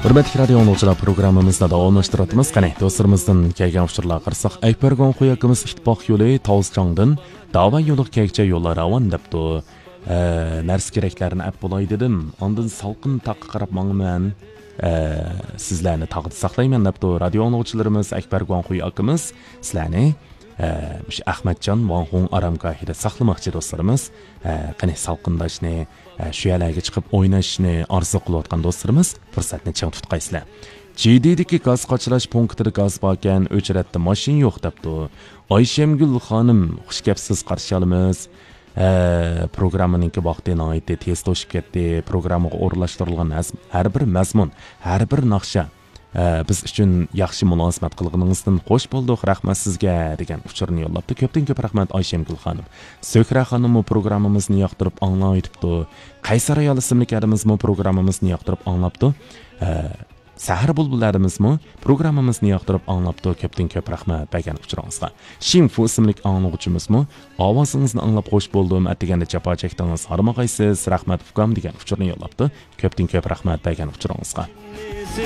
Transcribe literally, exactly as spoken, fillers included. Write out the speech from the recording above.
ھۆرمەتلىك رادىيو ئاڭلىغۇچىلار، پروگراممىمىزنى داۋاملاشتۇرۇۋاتىمىز. قېنى، دوستلىرىمىزدىن كەلگەن ئۇچۇرلارغا قارىساق، ئەكبەر گۇاڭخۇي ئاكىمىز ئىتتىپاق يولى تاۋۇزچاڭدىن داۋان يولىغا كەگچە يوللار راۋان دەپتۇ. ئە، نەرسە كېرەكلەرنى ئەپ بولاي دېدىم. ئاندىن سالقىن تاغقا قاراپ ماڭىمەن. ئە، سىزلەرنى تاغدا ساقلايمەن دەپتۇ. رادىيو ئاڭلىغۇچىلىرىمىز، ئەكبەر گۇاڭخۇي ئاكىمىز سىلەرنى، ئە، مۇشۇ ئەخمەتجان ۋاڭخۇڭ ئارامگاھىدا ساقلىماقچى دوستلىرىمىز. ئە، قېنى سالقىنداشنى، ئە، شۇ يەرلەرگە چىقىپ ئويناشنى ئارزۇ قىلىۋاتقان دوستلىرىمىز پۇرسەتنى چىڭ تۇتقايسىلەر. جىدىدىكى گاز قاچىلاش پونكىتىدا گاز باركەن، ئۆچرەتتە ماشىنا يوق دەپتۇ. ئايشەمگۈل خانىم، خۇش كەپسىز قارشى ئالىمىز. ئە، پروگراممىنىڭكى ۋاقتى ناھايىتى تېز توشۇپ كەتتى. پروگراممىغا ئورۇنلاشتۇرۇلغان ھەز-، ھەر بىر مەزمۇن، ھەر بىر ناخشا، ئە، بىز ئۈچۈن ياخشى مۇلازىمەت قىلغىنىڭىزدىن خوش بولدۇق، رەھمەت سىزگە، دېگەن ئۇچۇرنى يوللاپتۇ. كۆپتىن كۆپ رەھمەت ئايشەمگۈل خانىم. زۆھرە خانىممۇ پروگراممىمىزنى ياقتۇرۇپ ئاڭلاۋېتىپتۇ. قەيسەر ئايال ئىسىملىك ئەرىمىزمۇ پروگراممىمىزنى ياقتۇرۇپ ئاڭلاپتۇ. ئە، سەھەر بۇلبۇل ئەرىمىزمۇ پروگراممىمىزنى ياقتۇرۇپ ئاڭلاپتۇ. كۆپتىن كۆپ رەھمەت بەرگەن ئۇچۇرىڭىزغا. شىڭفۇ ئىسىملىك ئاڭلىغۇچىمىزمۇ ئاۋازىڭىزنى ئاڭلاپ خوش بولدۇم، ئەتىگەندە جاپا چەكتىڭىز، ھارمىغايسىز، رەھمەت ئۇكام، دېگەن ئۇچۇرنى يوللاپتۇ. كۆپتىن كۆپ رەھمەت بەرگەن ئۇچۇرىڭىزغا.